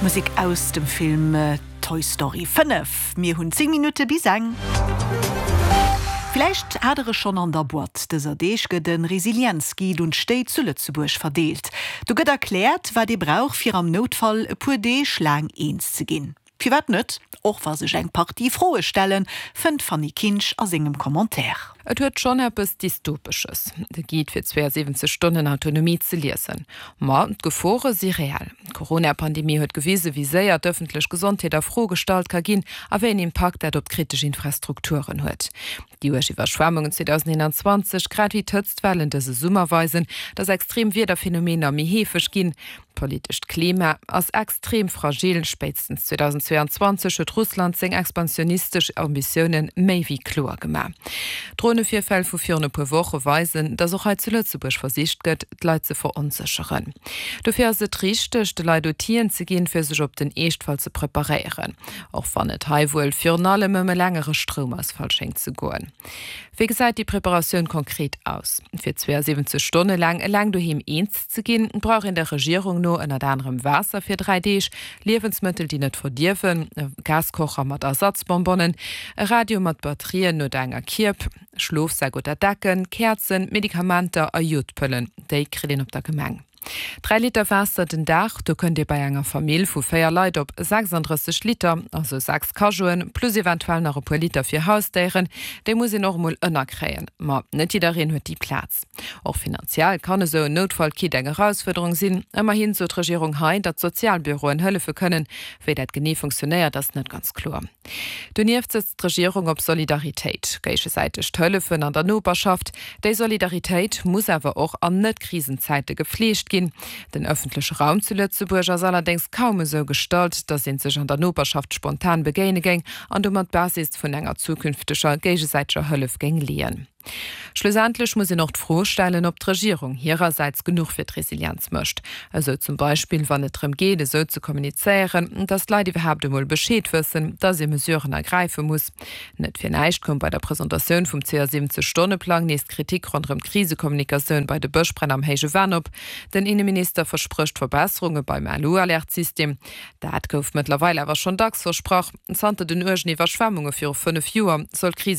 Musek aus dem Film Toy Story 5. Mir hunn 10 Minutte bis eng. Villäicht hat der e schonn an der Boîte. Dëser Deeg gëtt e Resilienz-Guide un d'Stéit zu Lëtzebuerg verdeelt. Do gëtt erkläert, wat ee brauch, fir am Noutfall e puer Deeg laang eens ze ginn. Firwat net? Och wa sech eng Partie Froe stellen, fënnt d'Fanny Kinsch a sengem Commentaire. Et huet schonn eppes Dystopesches, de Guide fir 72 Stonnen Autonomie ze liesen. Ma d'Gefore si reell. D'Corona-Pandemie huet gewise wéi séier d'ëffentlech Gesondheet a Fro gestallt ka ginn a wéi en Impakt dat op kritesch Infrastrukturen huet. Déi uerg Iwwerschwemmungen 2021, grad ewéi d'Hëtztwellen dëse Summer weisen, datt extrem Wiederphenomener méi heefeg ginn. D'politescht Klima ass extrem fragil. Spéitstens 2022 huet Russland seng expansionistesch Ambitioune méi wéi kloer gemaach. D'Dronevirfäll vu virun e puer Woche weisen, datt och hei zu Lëtzebuerg versicht gëtt, d'Leit ze veronsécheren. Dofir ass et richteg, de Leit Outiller ze ginn, fir sech op den Eeschtfall ze preparéieren. Och wann et hei wuel virun allem ëm e längere Stroumausfall schéngt ze goen. Wéi gesäit déi Preparatioun konkret aus? Fir 72 Stonne laang eleng doheem eens ze ginn, brauch een der Regierung no ënnert anerem Waasser fir 3 Deeg, Liewensmëttel déi net verdierwen, e Gaskocher mat Ersatzbonbonnen, e Radio mat Batterien oder enger Kierb, Schlofsäck oder Decken, Käerzen, Medikamenter a Jodpëllen. Déi kritt een op der Gemeng. 3 Liter Waasser den Dag, do kënnt Dir bei enger Famill vu 4 Leit op 36 Liter, also 6 Cajoen, plus eventuell nach e puer Liter fir Hausdéieren. Déi muss een och emol ënnerkréien. Ma net jiddereen huet déi Plaz. Och finanziell kann esou en Noutfallkit eng Erausfuerderung sinn. Ëmmerhin sot d'Regierung hei, datt d'Sozialbüroen hëllefe kënnen. Wéi dat genee funktionéiert, ass net ganz kloer. Donieft sëtzt d'Regierung op Solidaritéit, géigesäitegt Hëllefen an der Noperschaft. Déi Solidaritéit muss awer och an Net-Krisenzäite gefleegt ginn. Den ëffentleche Raum zu Lëtzebuerg ass allerdéngs kaum esou gestalt, datt ee sech an der Noperschaft spontan begéine géing an domat d'Basis vun enger zukünfteger géigesäiteger Hëllef géing leeën. Schlussendlech muss een och d'Fro stellen, ob d'Regierung hirersäits genuch fir d'Resilienz mécht. Esou zum Beispill, wann et drëm geet, esou ze kommunizéieren, datt d'Leit iwwerhaapt emol Bescheed wëssen, datt ee Mesuren ergräife muss. Net fir näischt koum bei der Presentatioun vum 72 Stonne-Plang nees d'Kritik ronderëm d'Krisekommunikatioun bei de Bëschbränn am Héije Venn op. Den Inneminister versprécht Verbesserunge beim LU-Alert-System. Dat gouf mëttlerweil awer schonn dacks versprach. Zanter den uergen Iwwerschwemmunge viru 5 Joer soll d'Krisekommunikatioun.